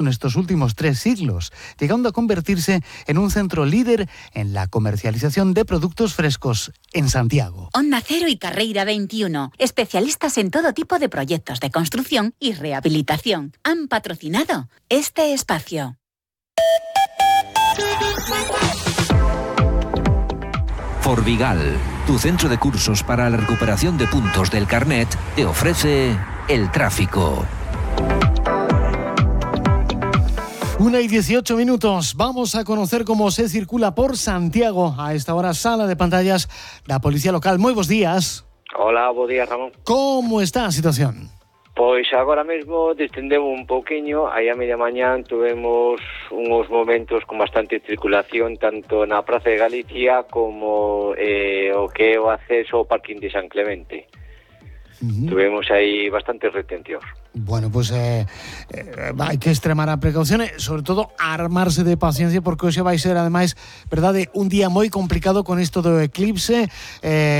en estos últimos 3 siglos, llegando a convertirse en un centro líder en la comercialización de productos frescos en Santiago. Onda Cero y Carreira 21, especialistas en todo tipo de proyectos de construcción y rehabilitación, han patrocinado este espacio. Forvigal, tu centro de cursos para la recuperación de puntos del carnet, te ofrece el tráfico. 1:18. Vamos a conocer cómo se circula por Santiago. A esta hora, sala de pantallas, la policía local. Moi bos días. Hola, bos días, Ramón. Como está a situación? Pois agora mesmo distendemos un pouquiño. Aí a media mañán tuvemos uns momentos con bastante circulación tanto na Praza de Galicia como o que é o acceso ao parking de San Clemente. Tuvemos aí bastantes retencións. Bueno, pues hai que extremar a precaución e, sobre todo, armarse de paciencia porque hoxe vai ser, ademais, verdade, un día moi complicado con isto do eclipse.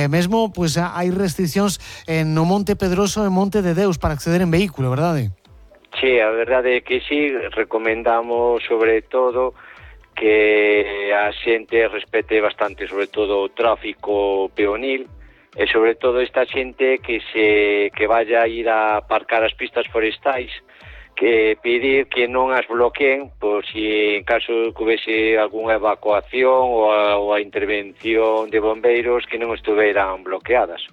Mesmo, pues hai restriccións no Monte Pedroso e Monte de Deus para acceder en vehículo, verdade? Sí, a verdade é que sí, recomendamos sobre todo que a xente respete bastante, sobre todo, o tráfico peonil, e sobre todo esta xente que vaya a ir a aparcar as pistas forestais, que pedir que non as bloqueen por si en caso que houvese algunha evacuación ou a intervención de bombeiros que non estuveran bloqueadas.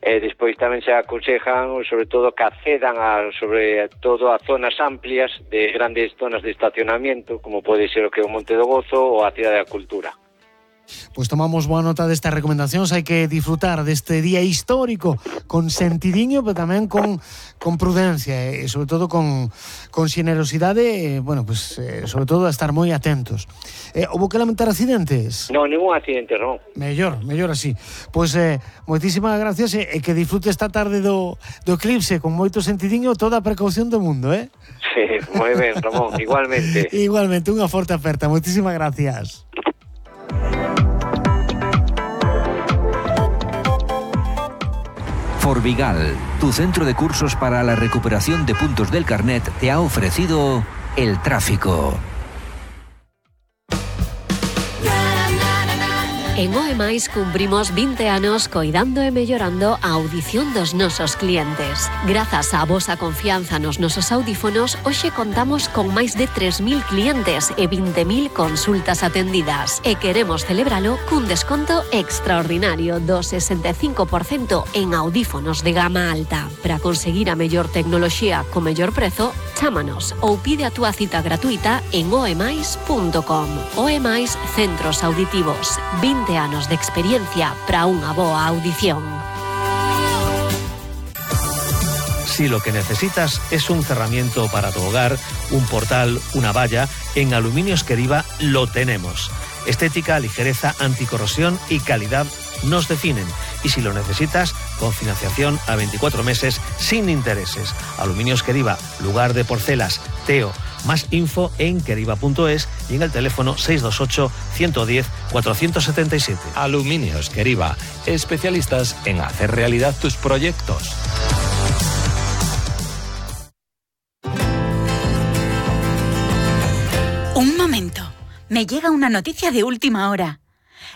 E despois tamén se aconsejan sobre todo que accedan sobre todo a zonas amplias de grandes zonas de estacionamiento, como pode ser o que é o Monte do Gozo ou a Cidade da Cultura. Pues tomamos boa nota destas recomendacións. Hai que disfrutar deste día histórico con sentidiño, pero tamén con prudencia e sobre todo con xenerosidade, bueno, pues sobre todo a estar moi atentos. Houbo que lamentar accidentes? Non, ningún accidente, non. Mellor así. Pois moitísimas gracias e que disfrute esta tarde do eclipse con moito sentidiño, toda a precaución do mundo, Sí, moi ben, Ramón, igualmente. Igualmente, unha forte aperta. Moitísimas gracias. Forvigal, tu centro de cursos para la recuperación de puntos del carnet, te ha ofrecido el tráfico. En OEMAIS cumprimos 20 anos coidando e mellorando a audición dos nosos clientes. Grazas á vosa confianza nos nosos audífonos, hoxe contamos con máis de 3.000 clientes e 20.000 consultas atendidas. E queremos celebralo cun desconto extraordinario do 65% en audífonos de gama alta. Para conseguir a mellor tecnoloxía co mellor prezo, chámanos ou pide a túa cita gratuita en oemais.com. OEMAIS Centros Auditivos. 20 anos de experiencia para unha boa audición. Si lo que necesitas es un cerramiento para tu hogar, un portal, una valla, en Aluminios Queriva lo tenemos. Estética, ligereza, anticorrosión y calidad nos definen. Y si lo necesitas, con financiación a 24 meses sin intereses. Aluminios Queriva, lugar de porcelas, Teo. Más info en queriva.es y en el teléfono 628 110 477. Aluminios Queriva, especialistas en hacer realidad tus proyectos. Un momento, me llega una noticia de última hora.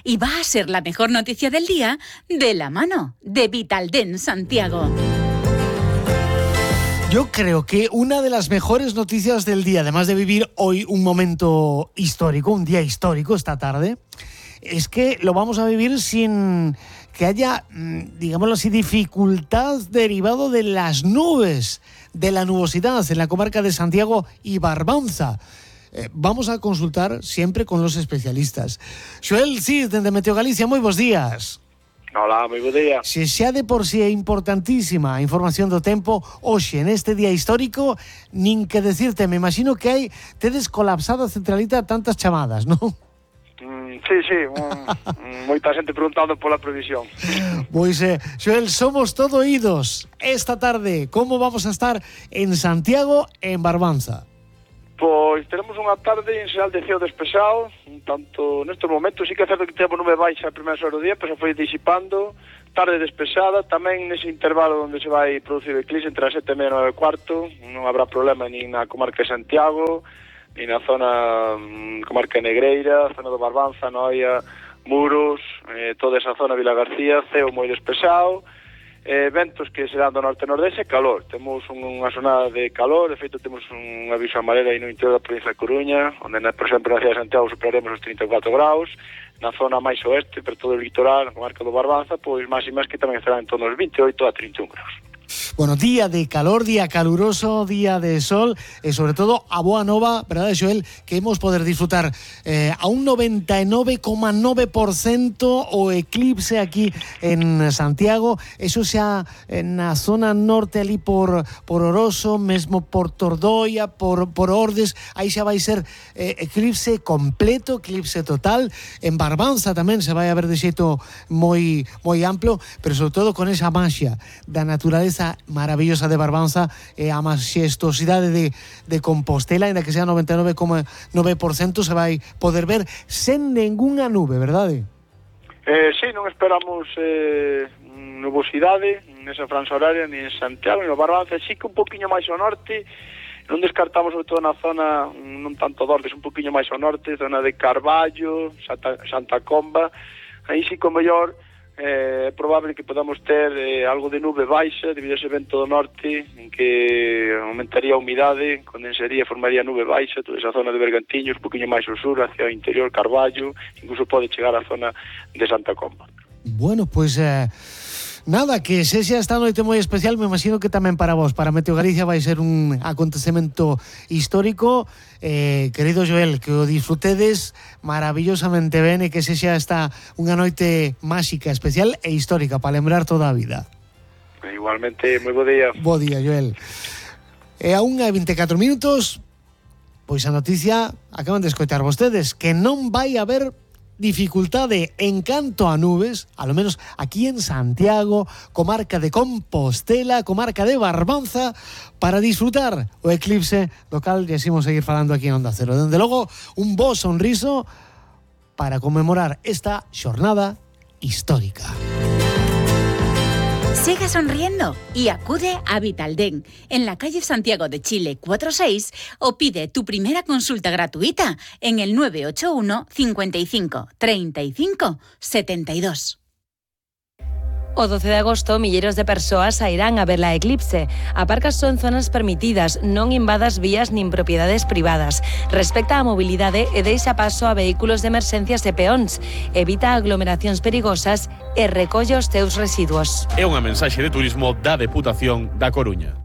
Y va a ser la mejor noticia del día de la mano de Vitaldent Santiago. Yo creo que una de las mejores noticias del día, además de vivir hoy un momento histórico, un día histórico esta tarde, es que lo vamos a vivir sin que haya, digámoslo así, dificultad derivado de las nubes, de la nubosidad en la comarca de Santiago y Barbanza. Vamos a consultar siempre con los especialistas. Xoel Cid, de Meteo Galicia, moi bos días. Hola, moi bo día. Se xa de por si é importantísima a información do tempo, hoxe, neste día histórico, nin que decirte, me imagino que tedes colapsado a centralita tantas chamadas, non? Sí, moita xente preguntando pola previsión. Pois, Xoel, somos todo oídos. Esta tarde, como vamos a estar en Santiago e en Barbanza? Pois teremos unha tarde en xeral de ceo despexado, tanto nestes momentos sí que é certo que temos nube baixa a primeira hora do día, pero se foi disipando, tarde despexada, tamén nese intervalo onde se vai producir o eclipse entre as 7:30 e 9:15, non habrá problema nin na comarca de Santiago, nin na zona comarca de Negreira, zona do Barbanza, Noia, Muros, toda esa zona Vila García, ceo moi despexado, ventos que serán do norte-nordeste e calor. Temos unha xornada de calor, de feito temos un aviso amarelo aí no interior da provincia de Coruña, onde, por exemplo, na cidade de Santiago superaremos os 34 graus, na zona máis oeste, per todo o litoral, na comarca do Barbanza, pois máximas que tamén estarán en torno aos 28 a 31 graus. Bueno, día de calor, día caluroso, día de sol e sobre todo a boa nova, verdade, Xoel, que hemos poder disfrutar a un 99,9% o eclipse aquí en Santiago, eso xa na zona norte ali por Oroso, mesmo por Tordoia, por Ordes, aí xa vai ser eclipse completo, eclipse total. En Barbanza tamén se vai a ver de xeito moi amplo, pero sobre todo con esa maxia da naturaleza maravillosa de Barbanza e a maxestosidade de Compostela, ainda que sea 99,9% se vai poder ver sen ningunha nube, verdade? Sí, non esperamos nubosidade nesa franja horaria ni en Santiago ni no Barbanza, sí que un poquinho máis ao norte, non descartamos sobre todo na zona non tanto do Ordes, un poquinho máis ao norte, zona de Carballo, Santa Comba, aí sí que o mellor é probable que podamos ter algo de nube baixa debido a ese vento do norte en que aumentaría a humidade, condensaría, formaría nube baixa toda esa zona de Bergantiños, un poquinho máis ao sur, hacia o interior, Carballo, incluso pode chegar á zona de Santa Comba. Bueno, pues nada, que sexa esta noite moi especial, me imagino que tamén para vos, para Meteo Galicia vai ser un acontecemento histórico. Querido Joel, que o disfrutedes maravillosamente ben e que sexa esta unha noite máxica, especial e histórica para lembrar toda a vida. Igualmente, moi bo día. Bo día, Joel. E a 1:24 minutos, pois a noticia acaban de escoitar vostedes, que non vai haber dificultade en canto a nubes, a lo menos aquí en Santiago, comarca de Compostela, comarca de Barbanza, para disfrutar o eclipse local, e así vamos a seguir falando aquí en Onda Cero. Dende logo, un bo sonriso para conmemorar esta xornada histórica. Sigue sonriendo y acude a Vitalden en la calle Santiago de Chile 46 o pide tu primera consulta gratuita en el 981 55 35 72. O 12 de agosto, milleros de persoas sairán a ver la eclipse. A parcas son zonas permitidas, non invadas vías nin propiedades privadas. Respecta a mobilidade e deixa paso a vehículos de emerxencias e peóns. Evita aglomeracións perigosas e recolle os teus residuos. É unha mensaxe de turismo da Deputación da Coruña.